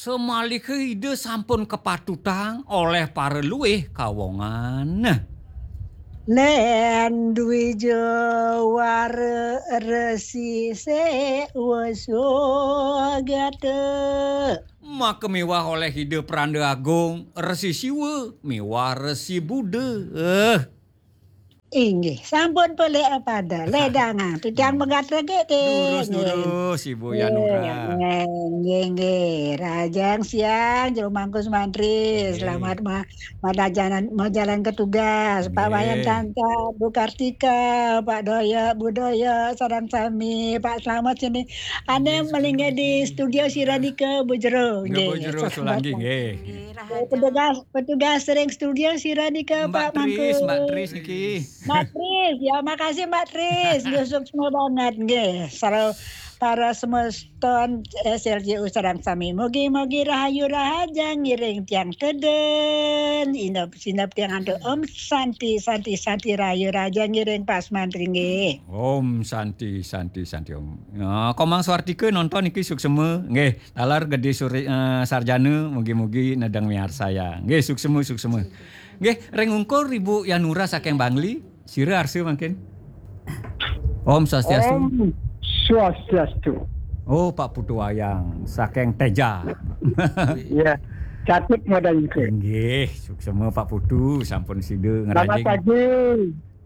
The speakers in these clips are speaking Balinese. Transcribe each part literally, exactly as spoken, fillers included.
Samaliha Ida sampun kapatutang olih para luih kawongan. Lén dwi jawara Resi Séwa Sugata. Maka miwah olih Ida Pranda Agung, Resi Siwa, miwah Resi Buddha. Eh. Inggih, sampun pelih pada. Ledangang, titiang megatra gé, té. Durus, nggih. Durus, Ibu Yanura. Nggih, nggih, nggih. Rahajeng siang, Jero Mangku Sumantri. Nggih. Selamat ma-, madajanan, majalan ke tugas. Pak Wayan Nggih. Tantan, Bu Kartika, Pak Doyo, Bu Doyo, sareng sami, Pak Slamet sini. Ané Nggih, malinggih di studio sira nika, Bu Jero. Nggih, Bu Nggih, Jero, selamat Sulangi, malam. Nggih. Nggih, Rahajeng. Petugas, petugas ring studio sira nika, Mbak Pak Tris, Mangku. Mbak Tris niki. Mbak Tris, ya, makasih, Mbak Tris. Nggih, suksma banget, nggih. Sareng para semeston S L J U sareng sami. Mugi-mugi rahayu rahajeng ngiring tiang tedun, inep sinep tiang antuk Om Santi, Santi, Santi, rahayu rahajeng ngiring Pak Sumantri, nggih. Om Santi, Santi, Santi, Om. Ya, Komang Swartika nonton niki suksma, nggih. Taler Gedé Suri-, eh, Sarjana, mugi-mugi nedeng miarsayang. Nggih, suksma, suksma. Nggih, ring ungkur Ibu Yanura saking Bangli, sira arsa mangkin. Om Swastiastu. Om Swastiastu. Oh, Pak Putu Wayang saking Teja. Iya, Catut Modalika. Nggih, suksma Pak Putu, sampun sida Selamat ngrajing. Pagi.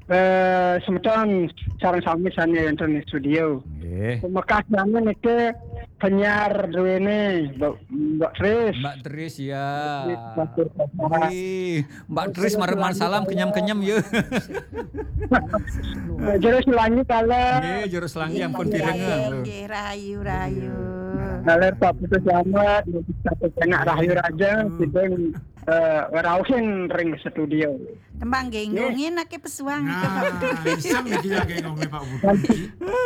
Eh, semeton sareng sami sané wénten ing studio. Nggih. Pamekasnyané niki penyiar duéné, Mbak, Mbak Tris. Mbak Tris, ya. Mbak Tris, Mbak Tris. Nggih. Mbak Tris, terus marep-marep salam, kenyem-kenyem, ya. Jero Sulangi, kala. Nggih, Jero Sulangi, ampun pirengang, lho. Nggih, rahayu, rahayu. Kala Pak Putu Slamet, Pak Penak, rahayu rahajeng, sida, eh, rauhin ring studio. Tembang nggih, nggih. Nggih. Ngénaké pesuang nika, Pak Putu. Nah, iseng niki ya, nggih, ngomongin Pak Putu.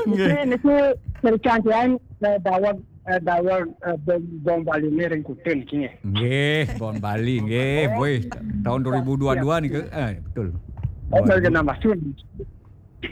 Nggih. Niki, niki, eh, daweg, eh, daweg, eh, Bom, Bom Bali ini ring Kuta niki, nggih. Nggih, Bom Bali, nggih. Bom Bali. Woi, tahun dua ribu dua dua niki. Eh, betul. Oh, Bom Bali. Nambah sun.